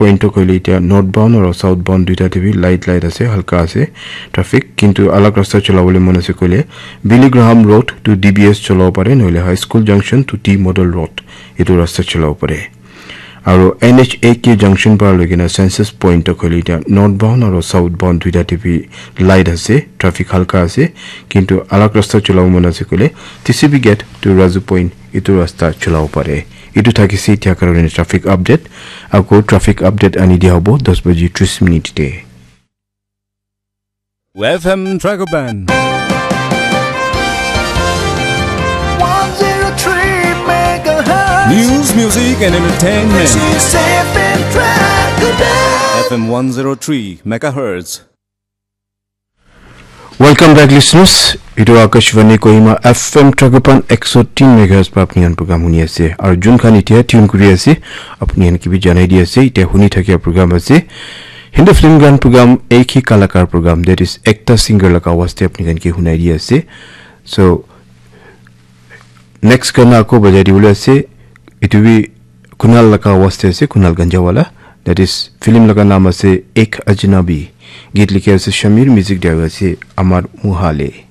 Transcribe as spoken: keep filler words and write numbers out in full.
Point to koile etia northbound aro southbound duita te bi light light ase, halka ase traffic, kintu alag rasta cholabole mon ase koile Billy Graham Road to D B S cholabo pare, nohole High School Junction to T Model Road etu rasta cholabo pare. Aro N H A K junction para loikena Census Point to koile etia northbound aro southbound duita te bi light ase, traffic halka ase, kintu alag rasta cholabo mon ase koile T C B Gate to Razu Point etu rasta cholabo pare. Etu thakise etia karone traffic update. Ako traffic update ani dia hobo dos baji tris minute te. F M Dragoban. one zero three megahertz. News, music, and entertainment. This is F M Dragoban. F M one zero three megahertz. Welcome back, listeners. Etu Akashvani Kohima F M Dragoban ekso tin megahertz pa apni khan program huni ase. Aru jun khan etia tune kuri ase, apni khan ke bi janai di ase. Etia huni thakia program ase Hindi film gan program, ek hi kalakar program, that is ekta singer laga awaz te apni khan ke hunai di ase. So, next gana ako bajai dibole ase. Etu bi Kunal laga awaz te ase, Kunal Ganjawala. That is film laga naam ase Ek Ajnabi. Geet likhi ase Shamir, music dia ase Amar Muhale.